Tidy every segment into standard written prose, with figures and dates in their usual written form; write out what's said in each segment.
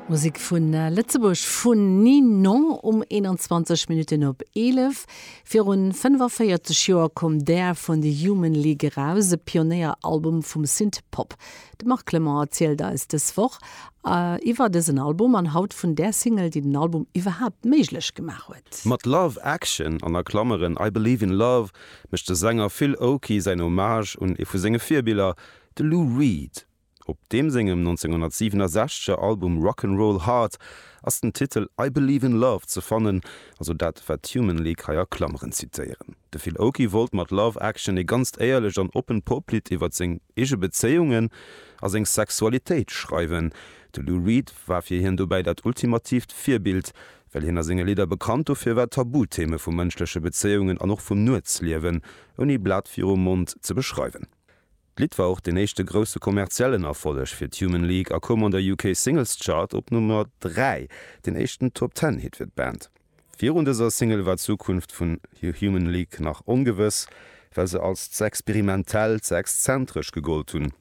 Musek vu Lëtzebuerg vun Ninon um 21 Minutten op 11. Virun 45 Joer koum Dare vun The Human League eraus, e Pionéieralbum vum Synth-Pop. De Marc Clement erzielt eis dës Woch iwwer dësen Album an haut vun där Single, déi den Album iwwerhaapt méiglech gemaach huet. Mat Love Action, an a Klammeren I Believe in Love, mécht de Sänger Phil Oakey säin Hommage un ee vu senge Virbiller, de Lou Reed. Op deem sengem 1967 er Album Rock 'n' Roll Hard ass den Titel I Believe in Love ze fannen, also dat wat d'Human League hei a Klammeren zitéieren. De Phil Oakey wollt mat Love Action ee ganzt éierlecht an oppent Poplidd iwwert seng eege Bezéiungen a seng Sexualitéit schreiwen. De Lou Reed war fir hien dobäi dat ultimatiivt Virbild, well hien a senge Lidder bekannt dofir war Tabutheme vu mënschleche Bezéiungen an och vum Nuetsliewen ouni Blat virum Mond ze beschreiwen. D'Lidd war och deen éischte grousse kommerziellen Erfolleg fir d'Human League a koum an der UK Singles Chart op Nummer 3, deen éischten Top Ten Hit fir d'Band. Virun dëser Single war d'Zukunft vun Human League nach ongewëss, well se als ze experimentell, ze exzentresch gegollt hunn.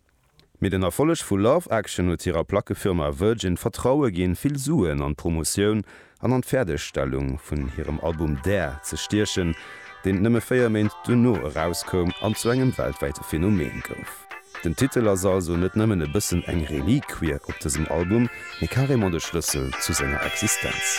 Mee den Erfolleg vu Love Action huet hirer Plackefirma Virgin d'Vertraue ginn, vill Suen an d'Promotioun an an d'Fäerdegstellung vun hirem Album Dare ze stiechen, deen nëmme 4 Méint duerno erauskoum an zu engem weltwäite Phänomen gouf. Den Titel ass also net nëmmen e bëssen eng Reliquie op dësem Album, mee carrément de Schlëssel zu senger Existenz.